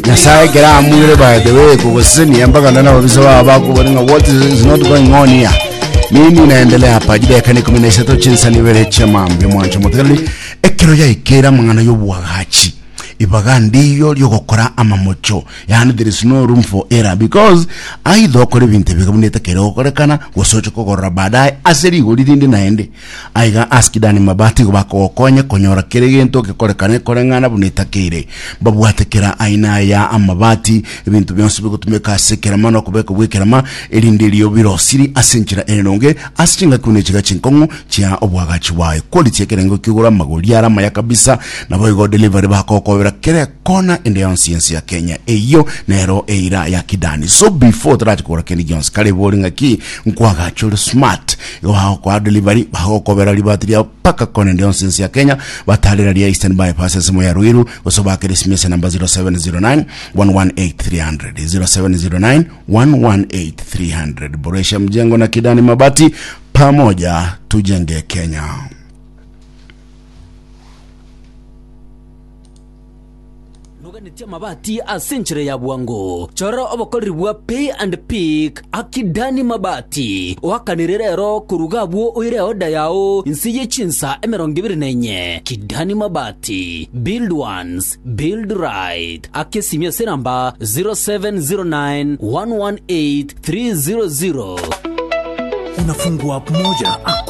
Nyasaye ekero amuire by the way kogosesenia mpaka nonye ababisa bao bakobori ng'a what is not going on here nini inaendelea hapa chidakika ni ikumi na isato chinsa nibere chia mambia mwancho motegereri ekero yaikeire amang'ana y'obwagachi ibaga ndiyo riogokora amamocho yaani there is no room for error because aidha okore ebinto ebiga buna etakere gokorekana gose oche kogorora baadaye ase rigori rinde naende Aiga ase Kidani Mabati igo bakogokonya konyora kera egento gekorekane koreng'ana buna etakeire. Mbabwate kera aina ya amabati, ebinto bionsi bigotumeka ase ekerama na okobekwa gw'ekerama, erinde erio birosiri ase enchera ere nonge ase chingaki buna echiga chinkong'u chia oboagachi bwaye. Quality ekerengo ki'igoro amagori are amaya kabisa, naboigo delivery bakogokobera kera ekona ende yonsi y'ense ya Kenya. Eyio nero eira ya Kidani. So before torache kogora kende gionsi, kare bori ng'aki nkwagacha ore smart. Igo bagokoa delivery, bagokobera ribati riao mpaka kona ende yonsi ense ya Kenya, batarera ria Eastern Bypass ensemo ya Ruiru, gose obakere esimi ase namba 0709 118 300, 0709 118 300. Boresha mjengo na Kidani Mabati, pamoja tujenge Kenya. Noganetie amabati ase enchera ya bwango? Chora obokoreri bwa Pay and Pick Akidani Mabati. Oakanire rero koruga abwo oire eoda yao inse ye chinsa 24. Kidani Mabati, build once, build right. Aka esimi ase enamba 0709 118 300. Unafungua app moja hakuna.